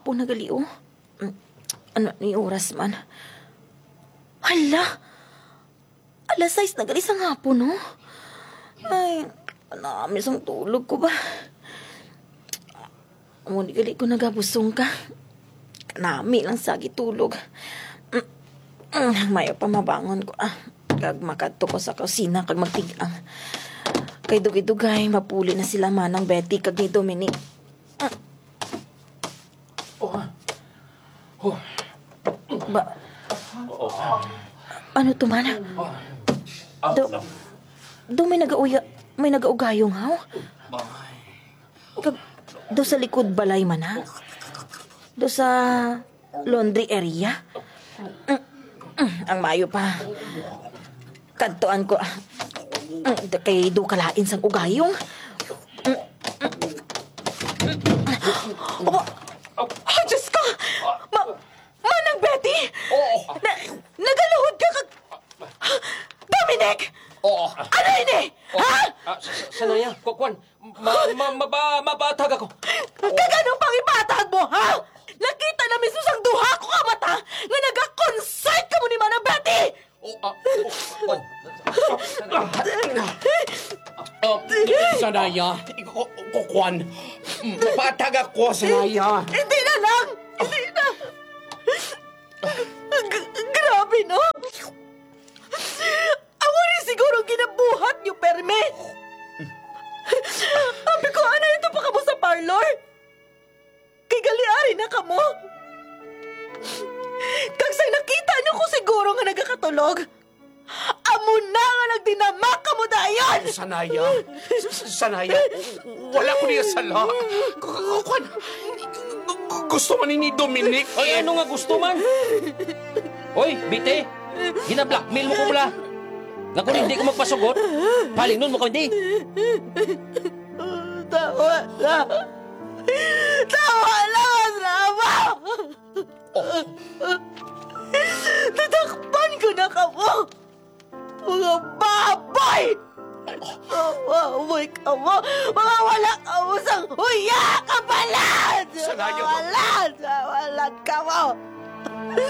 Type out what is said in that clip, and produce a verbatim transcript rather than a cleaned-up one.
hapon na gali, oh. Mm, ano ni oras man? Hala! Alas sais na gali sang hapon, no? Ay, kanami sang tulog ko ba? Amo ni gali ko nagabusong ka. Kanami lang sa gitulog. Mm, mm, mayo pa mabangon ko, ah. Kag makadto ko sa kusina kag magtig-ang. Kay dugay-dugay, mapuli na sila Manang Betty kag ni Dominic. Mm. Oh. Oh. Ba, Oh. Ano to man? Ah. Do, do may nagauya, may nagaugayong haw? Ay. Kag, do sa likod balay man, ha? Do sa laundry area? Mm, mm, ang mayo pa. Kadtuan ko, ah. Mm, kay do kalain sang ugayong. Mm, mm. Aba, ah, Diyos ko! Ma-, Manang Betty! Oo. Na-, nagaluhod ka kag, Dominic! Oo. Ano ini? Oo. Ha? Ah, sa-, sa-, sanaya, ku-, kuwan, ma-, ma-, maba-, mabatag ako. Kag ano pang ibatag mo, ha? Nakita na mismo sang duha ko ka mata nga nagakonsert kamo ni Manang Betty! Oh, ah, oh, oh. Oh, sanaya. Ku-, ku-, kuwan. Mapatag ako, sanaya. Hindi na lang! Hindi na! G-, grabe, no? Amo ni siguro ang ginabuhat niyo, permi. Abi ko, ano ito pa kamo sa parlor? Kay gali ari na kamo. Kag sang nakita niyo ko siguro nga nagakatulog, amo na nga nagdinamak kamo dayon! Sanaya. S-, s-, sanaya. Wala ko niya sala. K-, k-, kwan, gu-, gu-, gusto man ni Dominic. Ay, ano nga gusto man? Oy, Bite, gina-blackmail mo ko bala. Nga kung hindi ko magpasugot, palinon mo ko, hindi. Tawa na. Tawa na, Rama! Oh. Tatakpan ko na kamo! Mga baboy! Mga baboy kamo! Mga wala kamo sang huya! Kapalan! Sanaya. Kapalan! Kapalan kamo!